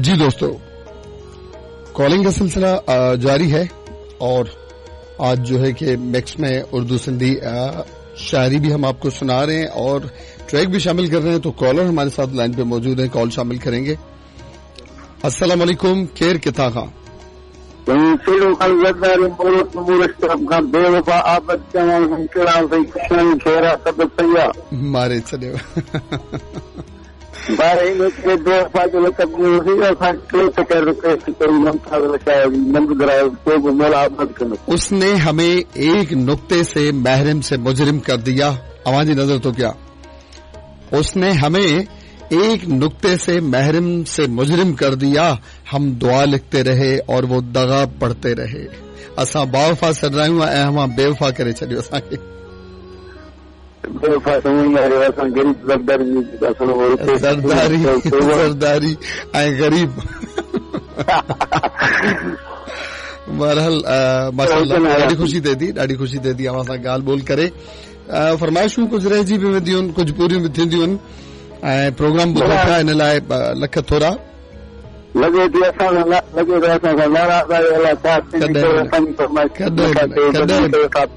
जी दोस्तों, कॉलिंग का सिलसिला जारी है और आज जो है कि मिक्स में उर्दू सिंधी शायरी भी हम आपको सुना रहे हैं और ट्रैक भी शामिल कर रहे हैं। तो कॉलर हमारे साथ लाइन पे मौजूद हैं, कॉल शामिल करेंगे। अस्सलाम वालेकुम, केर किथा खां? मारे छॾियो। उसने हमें एक नुक्ते से महरम से मुजरिम कर दिया। अवां जी नज़र तो क्या, उसने हमें एक नुक्ते से महरम से मुजरिम कर दिया। हम दुआ लिखते रहे और वो दगा पढ़ते रहे। असां बावफ़ा सॾायूं ऐं अवां बेवफ़ा करे छॾियो असांखे। ज़रदारी ज़रदारी ऐं ग़रीब। बहरहाल माशाअल्लाह ॾाढी ख़ुशी थिए थी, ॾाढी ख़ुशी थिए थी अवां सां ॻाल्हि ॿोल करे। फरमाइशूं कुझु रहिजी बि वेंदियूं आहिनि, कुझु पूरियूं बि थींदियूं आहिनि ऐं प्रोग्राम ॿुधो पिया, इन लाइ लख थोरा। लॻे थी असां लॻे थो असां सां नाराज़ आहियो, अलाए छा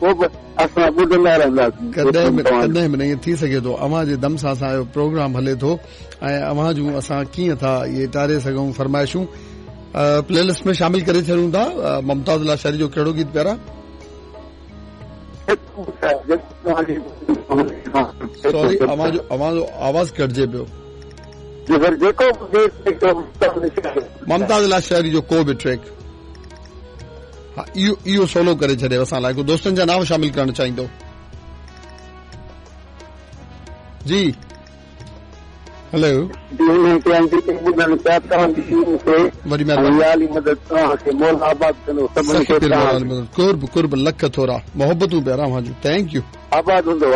पोइ बि असां ॿुधंदा रहंदासीं। कॾहिं बि कॾहिं बि न ईअं थी सघे थो। अवां जे दम सां असांजो प्रोग्राम हले थो ऐं अवां जूं असां कीअं था इहे टारे सघूं फरमाइशूं। प्ले लिस्ट में शामिल करे छॾियूं था। मुमताज़ लाशारी जो कहिड़ो गीत प्यारा? सॉरी, अवांजो आवाज़ कटिजे पियो। मुमताज़ लाशारी जो को बि ट्रैक, हा, इहो इहो सोलो करे छॾे असां लाइ। को दोस्तनि जा नाम शामिल करणु चाहींदो? जी हेलो, वॾी महिरबानी। कुर्ब कुर्ब, लख थोरा, मोहब्बतूं प्यारा अवां जूं। Thank you. आबाद हूंदो।